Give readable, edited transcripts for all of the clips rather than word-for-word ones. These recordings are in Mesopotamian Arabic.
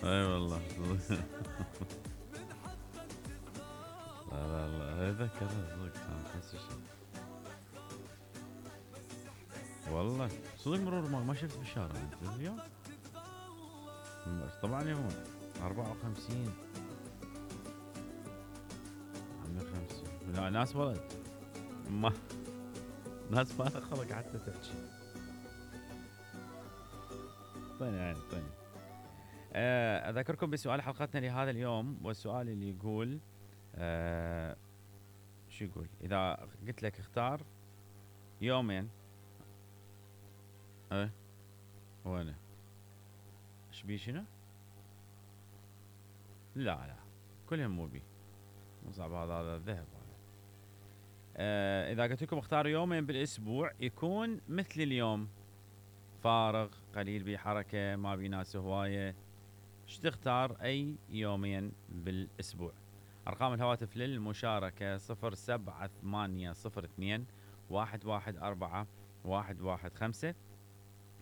اي والله. لا لا لا، ذكر صدق كان نفس الشيء. والله صدق مرور ما شفت بالشارع انت اليوم. طبعا يوم 54 50. لا ناس ولد ما ناس ما خلق حتى تحكي. طيب يعني طيب. اذكركم بسؤال حلقتنا لهذا اليوم، والسؤال اللي يقول شو يقول؟ اذا قلت لك اختار يومين. ايه وانا ايش بي شنو؟ لا لا كلهم مو بي، مو صعب هذا الذهب هذا. اذا قلت لكم اختاروا يومين بالاسبوع يكون مثل اليوم، فارغ قليل بيه حركه ما بيه ناس هوايه، ايش تختار اي يومين بالاسبوع؟ ارقام الهواتف للمشاركه 07802 114 115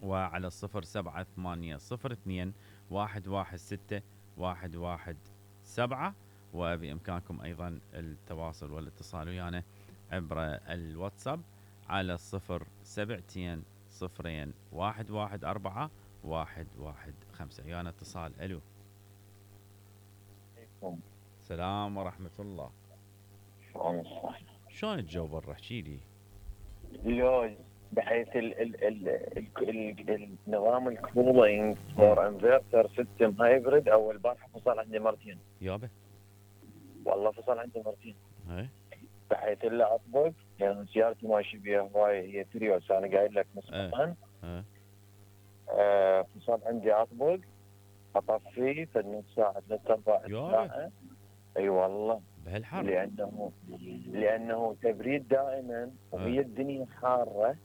وعلى 07802 116 117. وبإمكانكم أيضا التواصل والاتصال ويانا عبر الواتساب على 072 صفرين 114 115. ويانا اتصال. ألو. السلام ورحمة الله. شلون الجو برا؟ احكي لي. لوز بحيث النظام الكولينج فور انفرتر سيستم هايبريد. اول بارحه فصل عندي مرتين. يابا والله فصل عندي مرتين. اي بحيث الا اطبق يعني سيارتي ماشي بيها هواي، هي تريوس انا قايل لك مسبقا. فصل عندي اطبق اطفيه في نص ساعه 3/4 ساعه. اي والله بهالحر. لانه تبريد دائما وهي الدنيا حاره.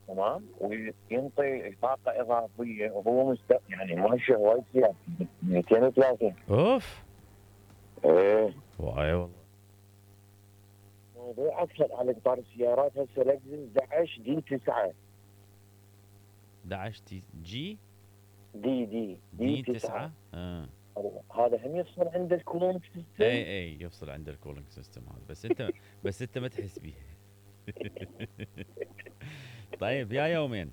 تمام. وينطي طاقه اضافيه وهو يعني ماشي هواي سيارة 230. اوف. ايه واي والله. موضوع اكثر على قطار السيارات هسه لكزس 11 دي 9. 11 جي دي 9. هذا هم يفصل عند الكولينج سيستم. اي يفصل عند الكولينج سيستم هذا، بس انت ما تحس بيه. طيب يا يومين.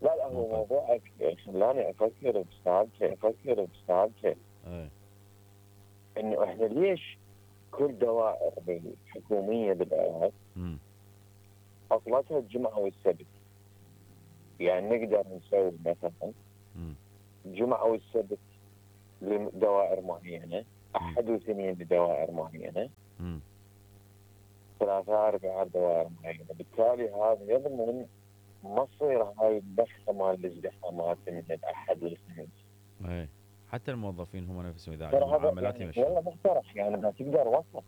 لا هو موضوع خلاني افكر بسالفه انه احنا ليش كل دوائر الحكوميه بالعراق عطلتها الجمعه والسبت؟ يعني نقدر نسوي مثلا الجمعه والسبت لدوائر معينه، احد واثنين لدوائر معينه، ثلاثاء اربعاء دوائر معينه. بالتالي هذا يضمن ما تصير هاي البخه مال الازدحامات من الاحد للخميس. اي حتى الموظفين هم نفسهم اذا عندهم معاملات يمشون. والله مقترح يعني ما تقدر وسط.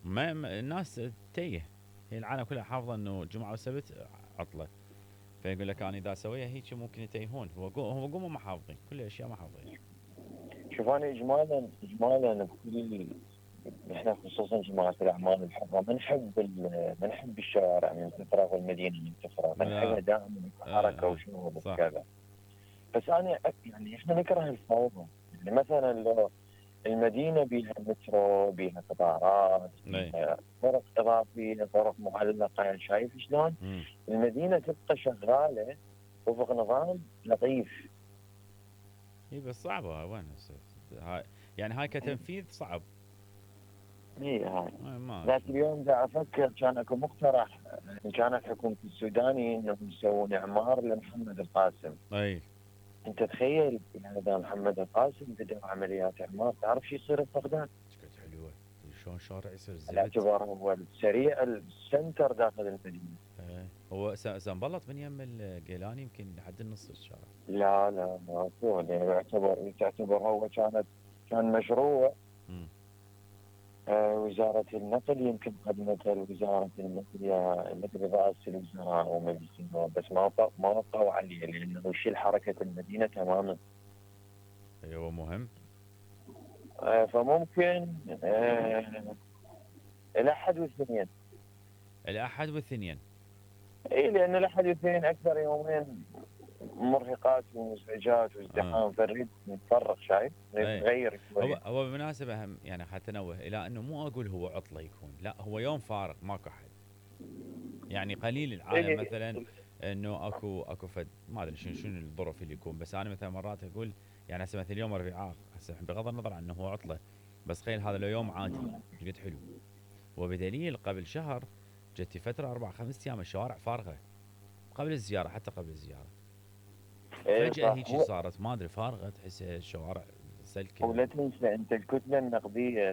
ما الناس تيه، هي العالم كلها حافظه انه الجمعه والسبت عطله، فيقول لك انا اذا اسويها هيك ممكن يتيهون. هو قوموا ما حافظين كل الاشياء ما حافظين. شوف انا اجمالا بكل احنا خصوصا جماعه الاعمال الحره ما نحب الشوارع من تفرغ والمدينه من تفرغ، نحبها دائما حركه وشغل وكذا. بس انا يعني احنا نكره الفوضى. يعني مثلا لو المدينه بيها مترو، بيها قطارات، بيها طرق اضافيه، طرق معلقه، يعني شايف شلون؟ المدينه تبقى شغاله وفق نظام لطيف. اي بس صعبه وين هاي يعني هاي كتنفيذ صعب. اي هاي ذاك اليوم دا افكر كان اكو مقترح ان كانت حكومه السوداني انهم يسوون اعمار لمحمد القاسم. اي انت تخيل يعني اذا محمد القاسم بدا عمليات اعمار تعرف شو يصير بفقدان؟ حلوه شلون شارع يصير زفت. باعتبار هو السريع السنتر داخل المدينه. هو سنبلط من يم الجيلاني يمكن لحد النص الشارع. لا ماكو يعني تعتبر هو كان مشروع. وزارة النقل يمكن قدمتها لوزارة النقل يا مدري رئاسة الوزراء أو مجلس النواب، بس ما وقعوا عليه لأنه يشيل حركة المدينة تماما. أيوه مهم. فممكن الأحد والاثنين. الأحد والاثنين. إي لأن الأحد والاثنين أكثر يومين مرهقات ومزعجات وازدحام، فنريد نتفرغ، شايف؟ نريد اي نغير شوي. هو بالمناسبة هم يعني حتى انوه الى انه مو اقول هو عطلة يكون، لا هو يوم فارغ ماكو احد. يعني قليل العالم إيه، مثلا انه اكو فد ما ادري شنو الظروف اللي يكون، بس انا مثلا مرات اقول يعني هسه مثل اليوم ربيعاء، هسه بغض النظر عن انه هو عطله، بس تخيل هذا لو يوم عادي ايش قد حلو. وبدليل قبل شهر جت فتره 4 5 ايام الشوارع فارغه، قبل الزياره حتى قبل الزياره إيه فجاه صح. هيجي صارت ما ادري فارغه، تحس الشوارع سلكه. ولا تنسى انت الكتله النقديه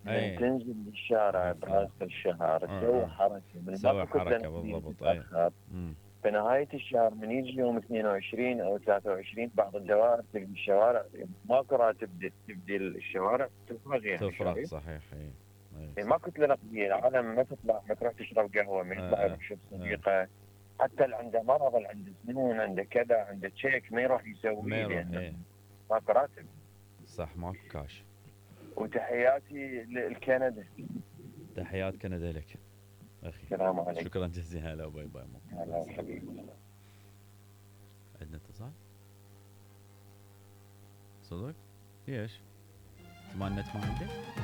من اي تنزل للشارع عفوا. براس الشهر تسوي اه حركه، من سوي ماكو كتله حركه نقديه بالضبط اي. تتاخر. امم بنهايه الشهر من يجي يوم 22 او 23 بعض الدوائر تلقى الشوارع ماكو راتب، تبدي الشوارع تفرغ، يعني تفرغ شايف؟ صحيح اي. اي يعني صح. ما كتله نقديه، العالم ما تطلع، ما تروح تشرب قهوه، ما يطلع اه يروح يشوف اه صديقه. حتى اللي عنده مرض، اللي عنده سنون، عنده كذا، عنده تشيك، ما يروح ما يسويه يروح لانه ايه. ماكو راتب. صح ماكو كاش. وتحياتي لكندا. تحيات كندا لك اخي. السلام عليكم. شكرا جزيلا، هلا باي باي مع هلا السلامه. حبيبي. عندنا اتصال صدق؟ ليش؟ انت ما النت ما عندك؟